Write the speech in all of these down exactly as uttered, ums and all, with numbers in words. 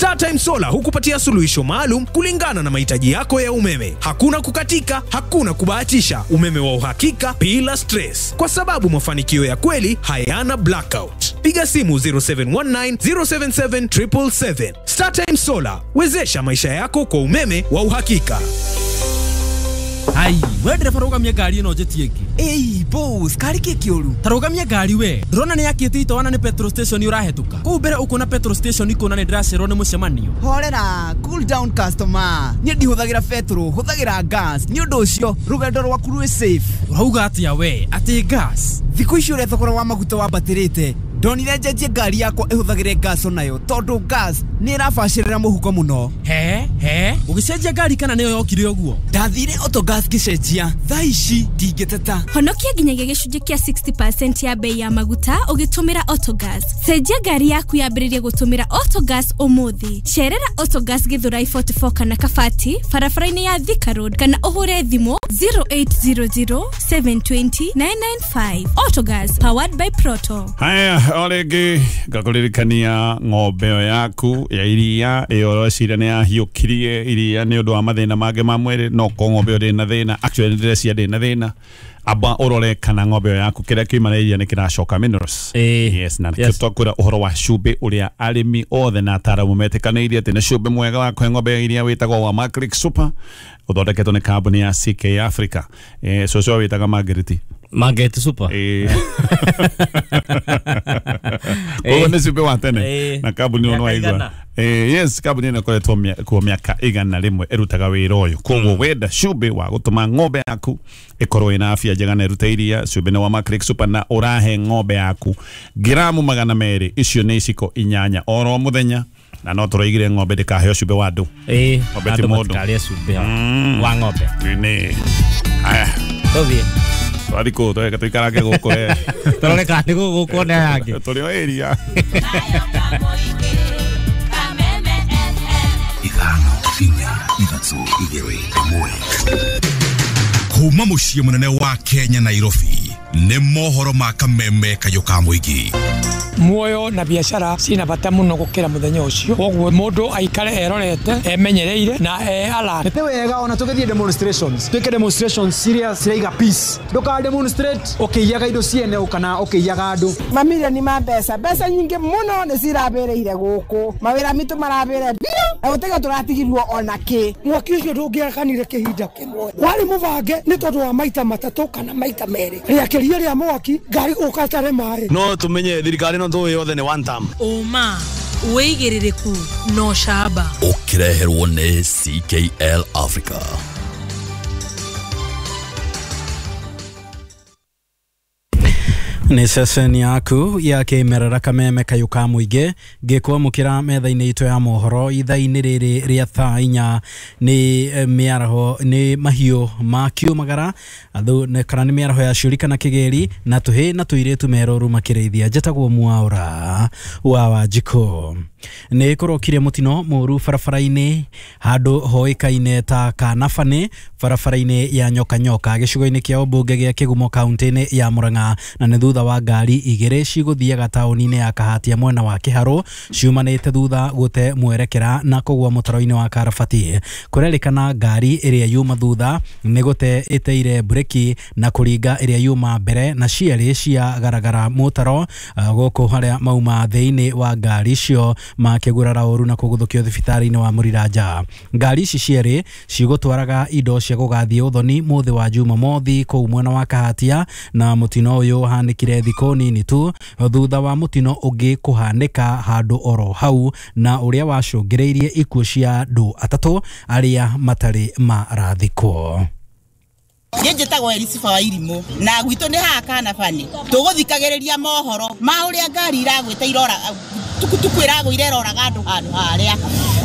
StarTime Solar hukupatia suluhisho maalum kulingana na mahitaji yako ya umeme. Hakuna kukatika, hakuna kubahatisha, umeme wa uhakika bila stress, kwa sababu mafanikio ya kweli hayana blackout. Piga simu zero seven one nine, zero seven seven, triple seven. StarTime Solar, wezesha maisha yako kwa umeme wa uhakika. Ai, we ndereba rũgamia ngari ĩno njĩtie ĩngĩ. Ĩi, boss, kari kĩ kĩũru? Ta rũgamia ngari we. Ndĩrona nĩ yakĩte itoana nĩ petrol station ũrahetũka. Kũu mbere ũkuona petrol station ikuona nĩ ndĩracererwo nĩ mũcemanio. Horera, cool down customer. Niĩ ndihũthagĩra petrol, hũthagĩra gas. Nĩ ũndũ ũcio, rũgendo rwaku rwĩ safe. Ũrauga atĩa we? Atĩ gas? Thikũ ici ũrĩa thogora wa maguta wambatĩrĩte, ndonire njenjie ngari yakwa ĩhũthagĩre gas onayo tondũ gas nĩ ĩrabacĩrĩra mũhuko mũno. He he, ũgĩcenjia ngari kana nĩyo yokire ũguo? Ndathire Autogas ngĩcenjia, thaa ici ndingĩteta. Honokia nginyagia gĩcunjĩ kĩa sixty percent ya bei ya maguta ũgĩtũmĩra Autogas. Cenjia ngari yaku yambĩrĩrie gũtũmĩra Autogas ũmũthĩ. Cerera Autogas Githurai forty-four kana Kabati barabara-inĩ ya Thika Road kana ũhũre thimũ zero eight zero zero, seven two zero, nine nine five. Autogas, powered by Proto. Haya, orĩngĩ ngakũririkania ng'ombe ĩyo yaku ya iria ĩyo ũreciria nĩ yahiũkirie iria nĩ ũndũ wa mathĩna mangĩ ma mwĩrĩ, no korwo ng'ombe ĩyo ndĩrĩ na thĩna, actually ndĩreciria ndĩrĩ na thĩna, amba ũrore kana ng'ombe ĩyo yaku kĩrĩa kiuma na iria nĩ kĩracoka minerals. Yes, na nĩkĩo twakwĩra ũhoro wa cumbĩ ũrĩa arĩmi othe na ataaramu metĩkanĩirie atĩ nĩ cumbĩ mwega wa kũhe ng'ombe ya iria wĩtagwo wa Maclick Super, ũthondeketwo nĩ kambuni ya C K Africa. Eh, cũcũ wĩtaga Margaret. Margaret Super. Eh. Koguo nĩ cumbĩ wa tene na kambuni ĩyo nĩwaigua. Eh, yes, kambuni ĩno ĩkoretwo kuo mĩaka igana rĩmwe ĩrutaga wĩra ũyũ. Koguo wenda cumbĩ wa gũtũma ng'ombe yaku ĩkorwo ĩna afya njega na ĩrute iria, cumbĩ nĩ wa Maclick Super na ũrahe ng'ombe yaku ngiramu magana merĩ, icio nĩ iciko inyanya oro mũthenya. Na no tũroigire ng'ombe ndĩkaheo cumbĩ wa andũ. Eh, ng'ombe ti mũndũ. Matikarĩe cumbĩ wa ng'ombe. Nĩ. Aya. Tũthiĩ. Twathi kũ tweka tũikarange gũkũ we. Tũrore kana nĩ gũkũ nĩ aya angĩ. Tũrĩ o area. Ithano, inya, ithatũ, igĩrĩ, ĩmwe. Kuma mũciĩ mũnene wa Kenya Nairobi, nĩ mohoro ma kameme kayũ ka mũingĩ. Muoyo na biacara cina bata muno gukira muthenya ucio, koguo mundu aikare erorete emenyereire na e alert. Nĩ wega ona tũgĩthiĩ demonstrations, twĩke demonstrations ciria ciraiga peace, ndũka demonstrate ũkĩiyaga indo ciene kana ũkĩiyaga andũ. Mamirioni ma mbeca, mbeca nyingĩ mũno nĩ cirabĩrĩire gũkũ, mawĩra mitũ marabĩre biũ na gũtiga tũratigirwo ona kĩ. Mwaki ũcio ndũngĩakanire kĩhinda kĩmwe, warĩ mũbange nĩ tondũ wa maita matatũ kana maita merĩ, rĩakĩria rĩa mwaki ngari gũka ĩtarĩ maĩ. No tũmenye thirikari no tũĩ yothe nĩ one term. Ũma wĩigĩrĩrĩku no camba ũkĩreherwo nĩ C K L Africa. Nĩ ceceni yaku ya kĩmerera kameme kayũ ka mũingĩ ngĩkwamũkĩra metha-inĩ itũ ya mohoro ithaa-inĩ rĩrĩ rĩa thaa inya nĩ mĩaraho nĩ mahiũ ma kiumagara kana nĩ mĩaraho ya ciũri kana kĩgĩri na tũhĩ na tũirĩtu merũru makĩrĩithia. Njĩtagwo Mwaũra wa Wanjikũ. Nĩ kũrokire mũtino mũru barabara-inĩ handũ hoĩkaine ta Kanabani barabara-inĩ ya Nyoka Nyoka gĩcigo-inĩ kĩa ũmbunge gĩa Kĩgumo kaunti-inĩ ya Murang'a, na nĩ thutha wa ngari igĩrĩ cigũthiaga taũni-inĩ ya Kahatia mwena wa Kĩharũ ciumanĩte thutha gũte mwerekera na kũgũa mũtaro-inĩ wa Karabati. Kũrerĩkana ngari ĩrĩa yuma thutha nĩ gũte ĩteire breki na kũringa ĩrĩa yuma mbere na cierĩ cia garagara mũtaro gũkũ harĩa mauma thĩinĩ wa ngari icio makĩgurara ũru na kũguthũkio thibitarĩ-inĩ wa Mũriranja. Ngari ici cierĩ cigũtwaraga indo cia gũgathiĩ ũthoni mũthĩ wa Jumamothi kũu mwena wa Kahatia, na mũtino ũyũ ũhanĩkire thikũ nini tu thutha wa mũtino ũngĩ kũhanĩka handũ oro hau na ũrĩa wacũngĩrĩirie ikuũ cia andũ atatũ arĩa matarĩ marathikwo. Niĩ njĩtagwo Elisifa wa Irimũ na gwitũ nĩ haha Kanabani. Tũgũthikagĩrĩria mohoro ma ũrĩa ngari iragwĩte irora tukutuku ĩragũire ĩroraga andũ handũ harĩa,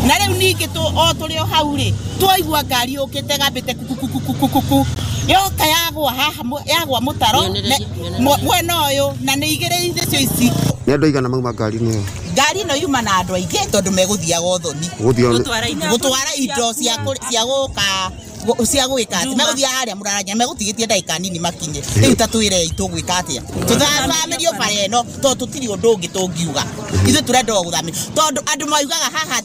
na rĩu ningĩ o tũrĩ o hau rĩ twaigua ngari yũkĩte gambĩte kukukukukuku yoka yagwa haha yagwa mũtaro mwena ũyũ na nĩ igĩrĩ icio ici. Nĩ andũ aigana mauma ngari-inĩ ĩyo? Ngari ĩno yuma na andũ aingĩ tondũ megũthiaga ũthoni gũtwara indo cia gũka cia gwĩka atĩ megũthiaga harĩa Mũraranya megũtigĩtie ndagĩka nini makinye. Rĩu ta twĩrei tũgwĩka atĩa? Tũthamĩrio bara ĩno tondũ tũtirĩ ũndũ ũngĩ tũngiuga. Ithuĩ tũrenda o gũthamĩrio tondũ andũ maugaga haha